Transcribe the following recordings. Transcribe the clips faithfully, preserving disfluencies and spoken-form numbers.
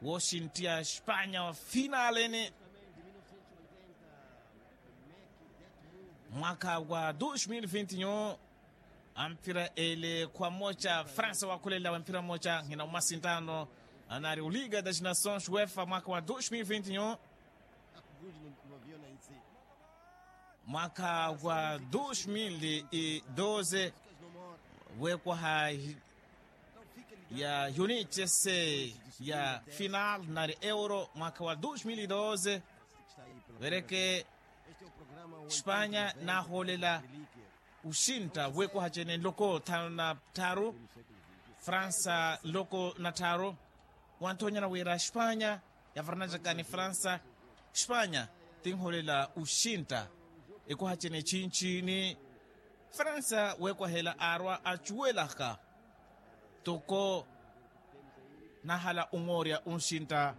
Wooxinttiya espanya wa finaleni. Mwaka wa dos mil vinti yu ampira ele kwa moca fransa wakulela wa mpira moca ngina umasintano anari uliga da ginasons wefa mwaka wa dos mil vinti yu. Mwaka wa dos mil e doze wekwaha ya yunityese ya final nari euro mwaka wa dos mil e doze. Wereke espanya nahoolela uxintta wekwaha cene nloko thanu na tharu fransa nloko na tharu. Wanthonyana wira espanya yavarnacaka ni fransa. Espanya tinhoolela uxintta ekwaha cene chinchini. Fransa wekwahela arwa acuwelaka toko nahala omoorya unxintta.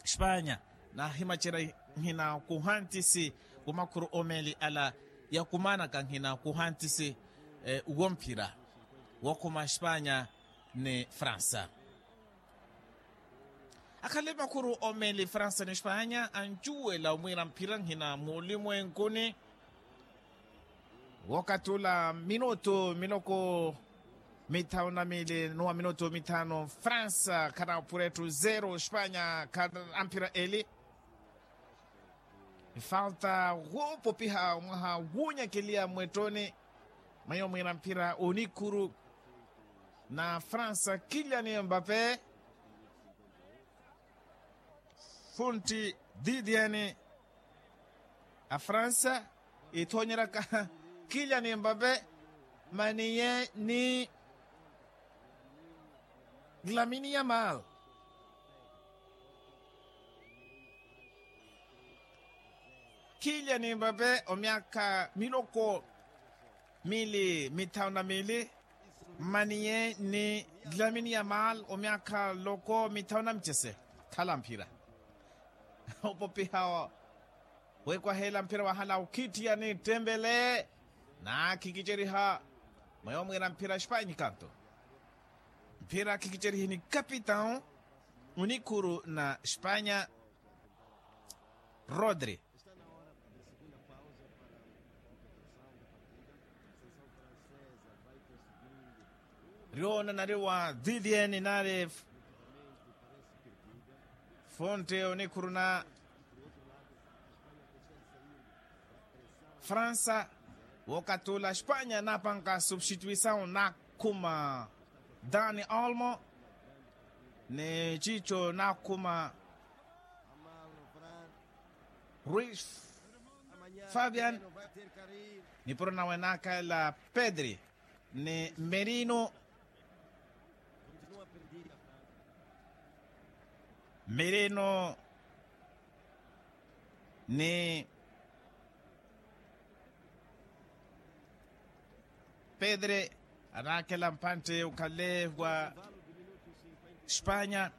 Espanya nahimacerya nhina kuhantisi wa makhuru omeli ala yakumanaka nhina kuhantisi womphira wokhuma espanya ni fransa. Akhale makhuru omeli fransa ni espanya ancuwela omwira mphira nhina mulimwenkuni. Wokatula minutu miloko mithanu na mili nuwa minutu mithanu fransa khanapura ettu zero espanya khanamphira eli. Ifalta wopopiha mwaha wunyakeliya mwettoni mweyo mwira mphira onikhuru na fransa kiliani mbape funtti didiani a fransa ithonyeraka kiliani mbape maniye ni lamini ya mal. Kiliani mbape omyaka miloko mili mithanu na mili mmaniye ni lamini ya mal omyaka loko mithanu na micese. Khala mphira opopiha wekwahela mphira wahala ukhitthiya ni ttembele. Naakhikiceriha mweyo mwira mphira espanya kanto mphira akhikicerihe ni kapitau onikhuru na espanya rodri. Riona nari wa didien nari fonte onikhuru na fransa. Wokatula espanya napanka substituisaw nakhuma dani olmo ni cico nakhuma ruis fabian. Nipuro nawe nakhalela pedri ni merino merino ni pedre anakhela mpantte ukhale wa espanya.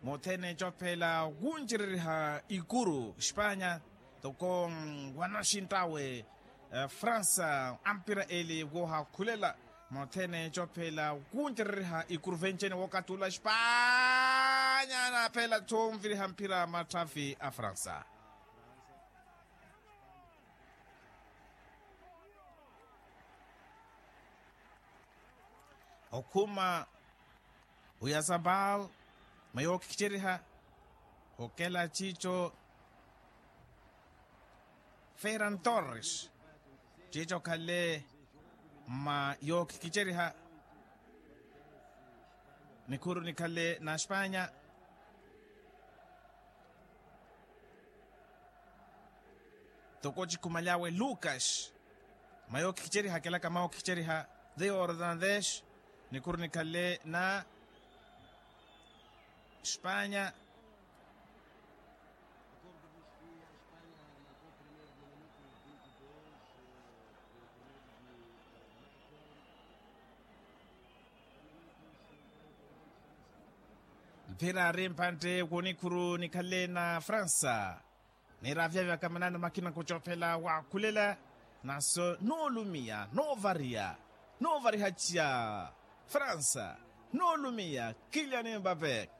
Mothene cophela wuncereriha ikuru espanya toko wanaxinttawe fransa ampira eli wohakhulela mothene cophela wuncereriha ikuru vencene wokatula espanya naphela conviriha mphira matthafi a fransa. Okhuma oyasabal mayookhikhiceriha okela cico feran torres cico khale mma yookhikhiceriha nikhuru nikhale na espanya. Toko cikhumalyawe lucas mayookhikhiceriha kelaka mawookhikhiceriha de ordandes nikhuru nikhale na espanya. Mphira ari mpantte wonikhuru nikhale na fransa. Nira vyavyaka manani makina kucophela wakhulela naso noolumiya noovariha noovariha ciya fransa noolumiya kiliani mbape.